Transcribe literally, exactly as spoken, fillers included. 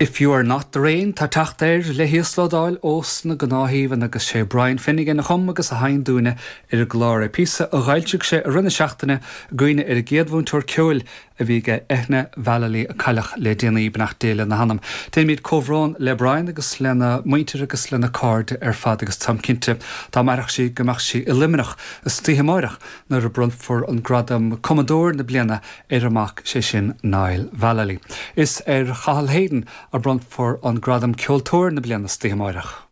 If You Are Not The Rain tá teacht air le híoslódáil ós na gnáthaíomhan agus sé Brian Finnegan a chum agus a sheinn dúinne ar an gclár é píosa a d'fhoilsigh sé i rith na seachtaine i gcuimhne ar an gcéad mhúinteoir ceoil a bhí aige Eithne Vallely a cailleadh le déanaí beannacht Dé lena hanam. Déanaimid comhbhrón le Brian agus lena muintir agus lena cairde ar fad agus táim cinnte dá mairfeadh sí go mbeadh sí i Luimneach istoíche amárach nuair a bronnfar an gradam cumadóir na bliana ar a mac sé sin Niall Vallely. Is ar Chathal Hayden a bronnfar an gradam ceoltóir na bliana istoíche amárach.